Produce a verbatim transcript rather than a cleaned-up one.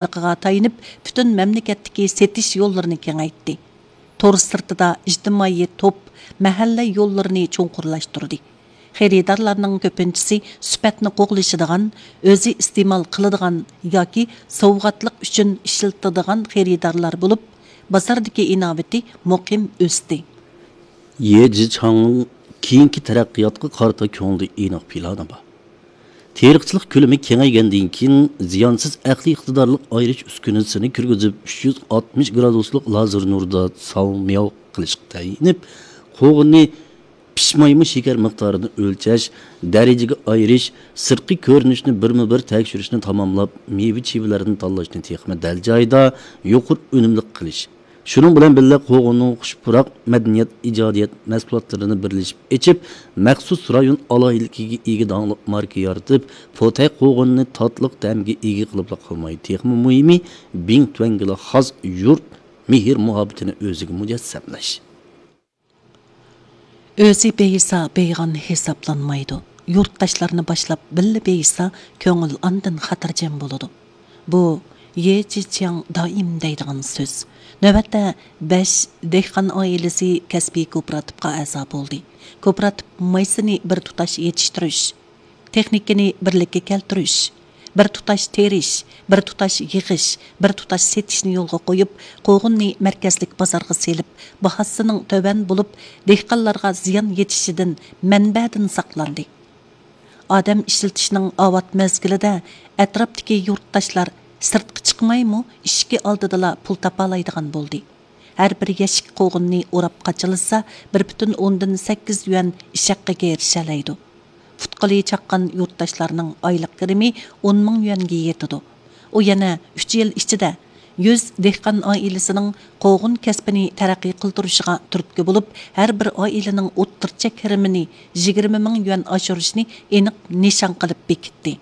تارمىقىغا تايىنىپ، پۈتۈن مەملىكەتتىكى سېتىش يوللىرىنى كېڭەيتتى. تور سىرتىدا ئىجتىمائىي توپ، مەھەللە يوللىرىنى چوڭقۇرلاشتۇردى. خېرىدارلارنىڭ كۆپىنچىسى سۈپەتنى قوغلىشىدىغان، ئۆزى ئىستېمال قىلىدىغان ياكى سوۋغاتلىق ئۈچۈن ئىشلىتىدىغان خېرىدارلار بولۇپ، بازاردىكى ئىناۋىتى مۇقىم ئۆستى. يې جىچاڭنىڭ كېيىنكى تەرەققىياتقا قارىتا كۆڭلىدە ئېنىق پىلانى بار. تېرىقچىلىق كۆلىمى كېڭەيگەندىن كېيىن، زىيانسىز ئەقلىي ئىقتىدارلىق ئايرىش ئۈسكۈنىسىنى كىرگۈزۈپ، ئۈچ يۈز ئاتمىش گرادۇسلۇق لازېر نۇردا ساۋمياۋ قىلىشقا تەيىنلىنىپ، قوغۇننى پىشمايمۇ شېكەر مىقدارىنى ئۆلچەش، دەرىجىگە ئايرىش، سىرتقى كۆرۈنۈشنى بىرمۇ بىر تەكشۈرۈشنى تاماملاپ، مېۋە چىۋىلەرنى تاللاشنى تېخىمۇ دەل جايىدا، يۇقىرى ئۈنۈملۈك قىلىش. شۇنىڭ بىلەن بىللە، قوغۇننىڭ خۇش پۇراق مەدەنىيەت، ئىجادىيەت مەھسۇلاتلىرىنى بىرلىشىپ ئېچىپ، مەخسۇس رايون ئالاھىدىلىكىگە ئىگە داڭلىق ماركا يارىتىپ، پوتەي قوغۇننى تاتلىق تەمگە ئىگە قىلىپلا قالماي، تېخىمۇ مۇھىمى، بىڭتۈەنگىلا خاس يۇرت مېھىر مۇھەببىتىنى ئۆزىگە مۇجەسسەملەش. ئۆزى بېيىسا، بېيىغان ھېسابلانمايدۇ. يۇرتداشلارنى باشلاپ بىللە بېيىسا، كۆڭۈل ئاندىن خاتىرجەم بولىدۇ. بۇ يې جىچياڭ دائىم دەيدىغان سۆز. نۆۋەتتە بەش دېھقان ئائىلىسى كەسپىي كوپىراتىپقا ئەزا بولدى. كوپىراتىپ مايسىنى بىر تۇتاش يېتىشتۈرۈش، تېخنىكىنى بىرلىككە كەلتۈرۈش، بىر تۇتاش تېرىش، بىر تۇتاش يىغىش، بىر تۇتاش سېتىشنى يولغا قويۇپ، قوغۇننى مەركەزلىك بازارغا سېلىپ، باھاسىنىڭ تۆۋەن بولۇپ، دېھقانلارغا زىيان يېتىشىدىن، مەنبەدىن ساقلاندى. ئادەم ئىشلىتىشنىڭ ئاۋات مەزگىلىدە ئەتراپتىكى يۇرتداشلار سىرتقا چىقمايمۇ، ئىشىكى ئالدىدىلا پۇل تاپالايدىغان بولدى. ھەر بىر يەشىك قوغۇننى ئوراپ قاچىلىسا، بىر پۈتۈن ئوندىن سەككىز يۈەن ئىش ھەققىگە ئېرىشەلەيدۇ. پۇت-قولى چاققان يۇرتداشلارنىڭ ئايلىق كىرىمى ئون مىڭ يۈەنگە يېتىدۇ. ئۇ يەنە ئۈچ يىل ئىچىدە يۈز دېھقان ئائىلىسىنىڭ قوغۇن كەسپىنى تەرەققىي قىلدۇرۇشىغا تۈرتكە بولۇپ، ھەر بىر ئائىلىنىڭ ئوتتۇرىچە كىرىمىنى يىگىرمە مىڭ يۈەن ئاشۇرۇشنى ئېنىق نىشان قىلىپ بېكىتتى.